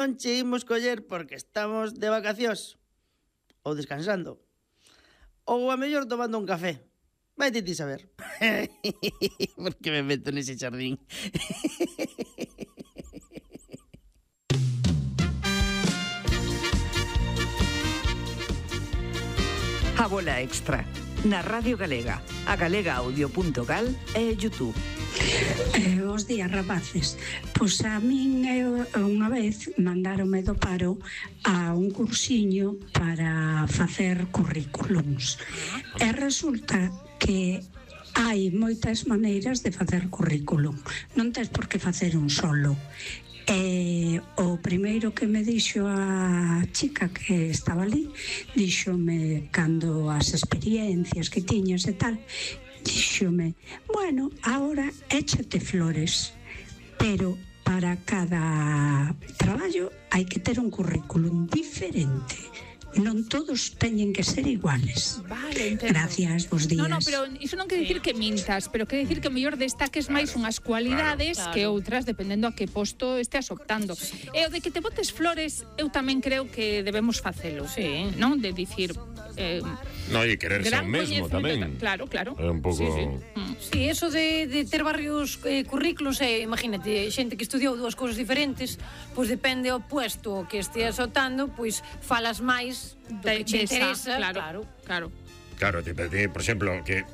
non che imos coller porque estamos de vacacións ou descansando ou a mellor tomando un café. Vai ti saber. Por que me meto nese xardín? A Bola Extra, na Radio Galega, a galegaaudio.gal e YouTube. Os días, rapaces. Pois a min unha vez mandáronme do paro a un cursiño para facer currículums. E resulta que hai moitas maneiras de facer currículum. Non tes por que facer un solo. O primeiro que me dixo a chica que estaba ali, díxome cando as experiencias que tiñas e tal, díxome, bueno, ahora échate flores, pero para cada traballo hai que ter un currículum diferente. Non todos teñen que ser iguales. Vale, entendo. Gracias, bos días. No, pero iso non quere dicir que mintas, pero quere dicir que mellor destaques máis unhas cualidades que outras, dependendo a que posto esteas optando. E o de que te botes flores, eu tamén creo que debemos facelo. Sí. Non? De dicir... No, e quererse ao mesmo tamén. Claro. É un pouco... Sí, eso de ter varios currículos, imagínate, xente que estudiou dúas cousas diferentes, pois depende o puesto que esteas optando, pois falas máis do que te interesa. Claro. Claro, por exemplo, que...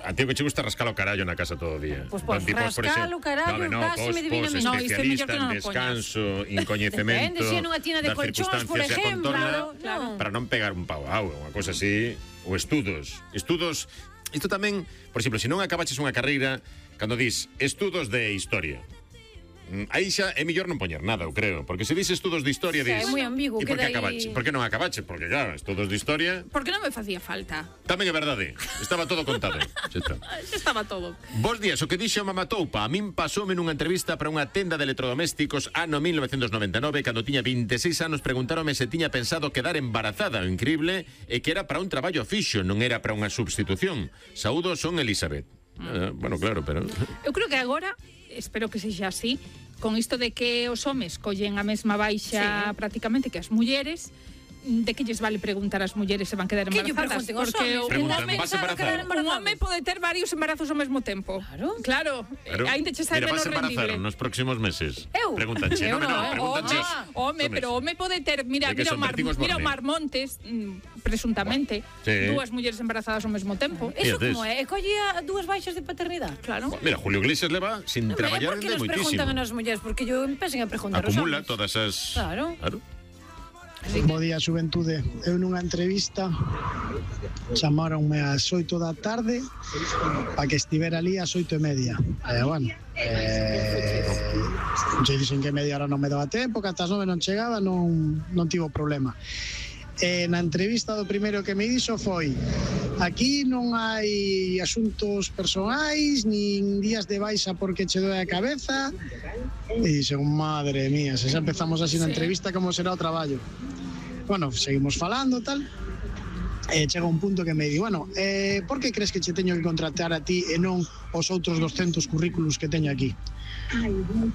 A ti que che gusta rascar o carallo na casa todo o día. Pois rascar o carallo, cásime divinamente. No, especialista en descanso, en coñecemento. Depende, se é nunha tienda de colchóns, por exemplo. Para non pegar un pau a auga, unha cosa así. Ou estudos. Isto tamén, por exemplo, se non acabaches unha carreira, cando dis estudos de historia, aí xa é mellor non poñer nada, eu creo, porque se dis estudos de historia, dis... É moi ambiguo, e por que acabache? Por que non acabache? Porque, claro, estudos de historia... Porque non me facía falta. Tamén é verdade, estaba todo contado. Xa estaba todo. Bos días, o que dixo Mamatoupa, a min pasoume nunha entrevista para unha tenda de electrodomésticos ano 1999, cando tiña 26 anos, preguntáronme se tiña pensado quedar embarazada, o increíble é que era para un traballo fixo, non era para unha substitución. Saúdos, son Elizabeth. Bueno, claro, pero... Eu creo que agora, espero que sexa así, con isto de que os homes collen a mesma baixa prácticamente que as mulleres, de que lles vale preguntar ás mulleres se van quedar embarazadas? Porque un home pode ter varios embarazos ao mesmo tempo. Claro. Ainda che sai menos rendible. Nos próximos meses. Eu? Pregúntanche. Home, pero home pode ter, mira o Mar Montes, presuntamente, dúas mulleres embarazadas ao mesmo tempo. Eso como é? Colle a dúas baixas de paternidade? Claro. Mira, Julio Iglesias leva sin traballar de moitísimo. Por que nos preguntan as mulleres? Porque yo empecen a preguntar os homes. Acumula todas as... Claro. Bo día, xuventude. Eu nunha entrevista chamaronme ás 8 da tarde para que estivera ali ás 8:30. Bueno, se dixen que media hora non me daba tempo, que ata as 9 non chegaba, non tivo problema. Na entrevista do primeiro que me dixo foi: aquí non hai asuntos personais nin días de baixa porque che doe a cabeza. E dixen, madre mía, se xa empezamos así na entrevista, como será o traballo? Bueno, seguimos falando, tal. Chega un punto que me di, bueno, por que crees que che teño que contratar a ti e non os outros 200 currículos que teño aquí?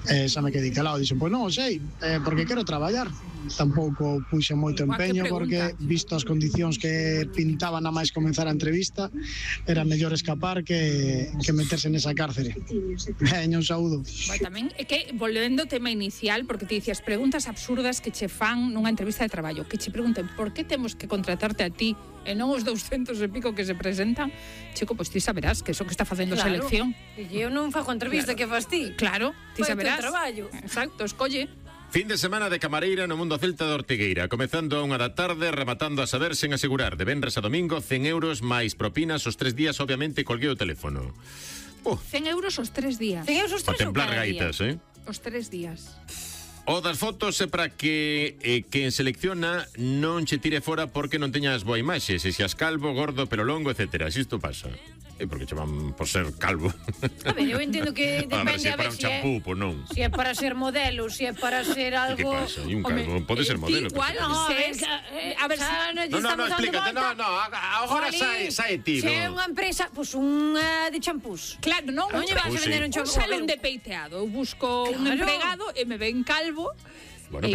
Xa me quedei calado, dixen, pois non sei, porque quero traballar. Tampouco puxe moito empeño, porque visto as condicións que pintaban a máis comenzar a entrevista, era mellor escapar que meterse nesa cárcere. Un saúdo. Tamén é que, volvendo ao tema inicial, porque te dicías preguntas absurdas que che fan nunha entrevista de traballo, que che pregunten por que temos que contratarte a ti e non os 200 e pico que se presentan, chico, pois ti saberás que eso que está facendo a selección. E eu non fago entrevista, que fas ti? Claro, ti saberás. Traballo. Exacto, escolle. Fin de semana de camareira no Mundo Celta de Ortigueira, comezando a 1 da tarde, rematando a saber sen asegurar. De venres a domingo, 100 euros máis propinas os 3 días, obviamente, colguei o teléfono. 100 euros os 3 días. 100 euros os 3 días. A templar gaitas, Os 3 días. O das fotos é para que quen selecciona non che tire fora porque non teñas boa imaxe, se xas calvo, gordo, pelo longo, etcétera. Si isto pasa. Porque che van por ser calvo. A ver, eu entendo que depende se é para un champú, pois non. Se é para ser modelo, se é para ser algo... Que pasa? E un calvo pode ser modelo. Igual, a ver, No, explícate, agora sai ti. Se é unha empresa, pois unha de champús. Claro, non lle vas a vender un champú. Un salón de peiteado. Eu busco un empregado e me ven calvo